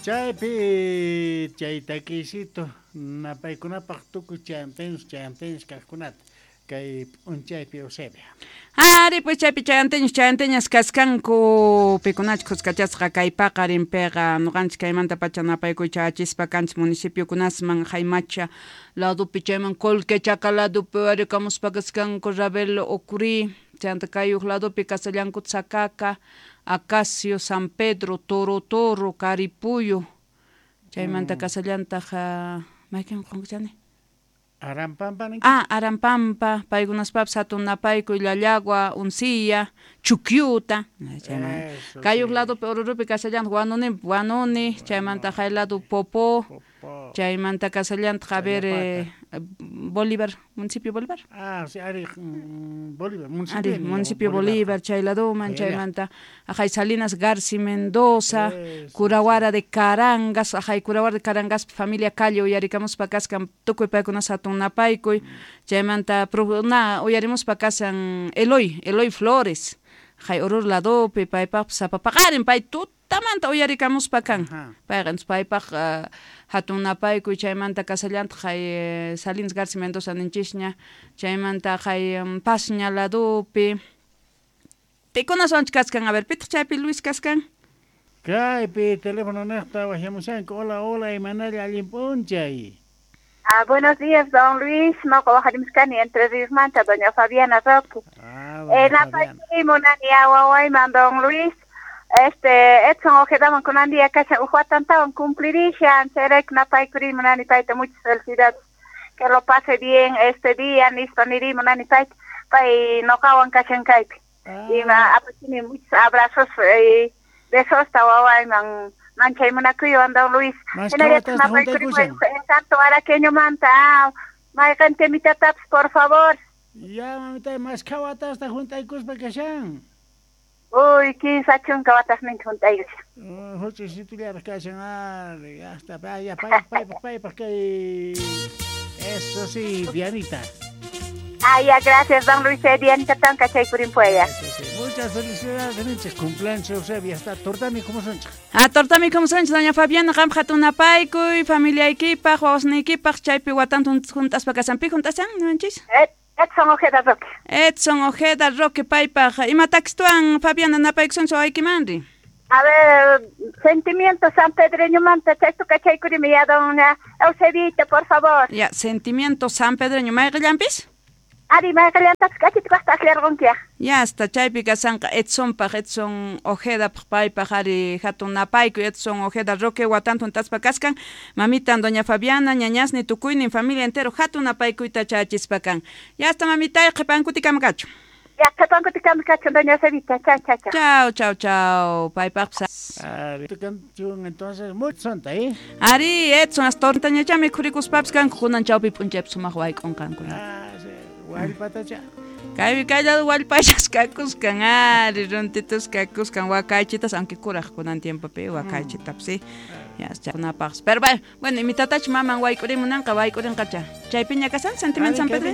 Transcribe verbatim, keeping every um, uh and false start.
Chaypi chay takisito napaykunapaq tukuy chayanteños chayanteños kaqkunata kay p'unchaypi Eusebia. Ari, pues chaypi chayanteños chayanteñas kaskanku pikunach khuskachasqa kay paqarinpiqa ñuqanchik kaymantapacha napaykuy chayachispa kanchik municipiokunasman Jaymacha ladopi chayman Colquechaca ladopi warikamuspa kaskanku Ravelo Ocurí chayanta kay huk ladopi kasallanku Tsacaca, Acacio, San Pedro, Toro Toro, Caripuyo chaymanta Mm. kasallantaq mayqin qunqachani Arampampa ninki? Ah, Arampampa, paykunaspapis hatun napaykuy Llallagua, Uncilla, Chuquiuta, chayman Eso kay huk sí. ladopi Orurupi kasallantaq Huanuni, Huanuni, chaymanta hay lado Popó, Popó. chaymanta kasallantaq a ver eh, Bolívar, municipio Bolívar. Ah, sí, ari mm, Bolívar, municipio Ari, municipio Bolívar. Bolívar, chay ladoman, Allá. chaymanta ajay Salinas Garci Mendoza, Eso, Curahuara de Carangas, ajay Curahuara de Carangas, familia Calle uyarikamuspa kaskan tukuy paykunas hatun napaykuy, chaymanta na uyarimuspa kasan Eloy, Eloy Flores, ajay Oruro ladopi paypaqpas sapa paqarin pay tutamanta uyarikamuspa kan. Payqa entonces paypaq uh, hatun napaykuy chaymanta kasallantaq hay eh, Salinas Garci Mendoza ninchisña, chaymanta hay um, Pasña ladopi. Pikunaswanchik kaskan, a ver, pitaq chaypi Luis kaskan? Kaypi teléfono niqta waqyamushanku. Hola, hola, imanalla allin p'unchay. Ah, buenos días, don Luis. Noqa waqarimuskani Entre Ríos manta, doña Fabiana Roque. Ah, Eh, doña Fabiana. napaykuy munani wawayman, don Luis. Este, Edson Ojedaman kunan día kashan uj watantawan cumplirishan, chayrayku napaykuri munani payta muchas felicidades. Que lo pase bien este día, nispa niri munani payta, pay noqawan kashan kaypi. Ima apachini muchos abrazos y besos ta wawayman manchay munakuywan don Luis. Mas Hinallataq kawatasta napaykuri juntaykushan. Santo Araqueño manta, ah, mayqin temitatapis, por favor. Ya, mamita, mas kawatasta juntaykuspa kashan. Uy, kinsa chunka watasninta juntaykushan. Uh, huch'uysitullaraq kashan, ari, hasta pa, ya, pay, paypaq, paypaq kay. Eso sí, Dianita. Ah, ya, gracias, don Luis. Eh, Dianita tanka chaykurinpuya. Eso sí. Muchas felicidades, ninchik. Cumpleaños Eusebia, hasta tortami kumusunchik. Ah, tortami kumusunchik, doña Fabiana, qam hatun napaykuy, familiaykipaq, wawasniykipaq, chaypi watanta juntaspa kasan, pi juntasan, niwanchis? Edson Ojeda Roque. Edson Ojeda Roque paypaq, ima takstuan Fabiana napaykusunchik wawaykimanri? A ver, sentimiento San Pedreño manta, chaytuka kachaykurimi ya, doña Eusebita, por favor. Ya, sentimiento San Pedreño, mayqillanpis? Ari, mayqillantapis k'achita kaqta aklarqunkiya. Ya hasta chaypi kasanqa Edsonpaq, Edson Ojedapaq paypaq ari hatun napaykuy Edson Ojeda Roque watanta juntaspa kaskan, mamitan doña Fabiana, ñañasni tukuynin familia entero hatun napaykuyta chayachispa kan. Ya hasta mamitay qhipankutikama kachun. Ya, qhipankutikama kachun, doña Eusebita. Chao, chao, chao. Chao, chao, chao. Paypaqpas. Ari, canción entonces muy santa, ¿eh? Ari, Edson, hasta tortañacha mikhurikuspapis kanku kunan chawpi p'unchaypi sumaq wayk'unqanku. Ah, sí, wallpatacha. Kaypi kay lado wallpachas kakuskan, ari, runtitus kakuskan, wakaychitas, aunque kuraq kunan tiempopi wakaychitapas, sí. Ya, chakunapaqpas. Pero bueno, bueno, imitatach maman wayk'urimunanqa, wayk'urinqacha. Chaypiña kasan, sentimiento San Pedro.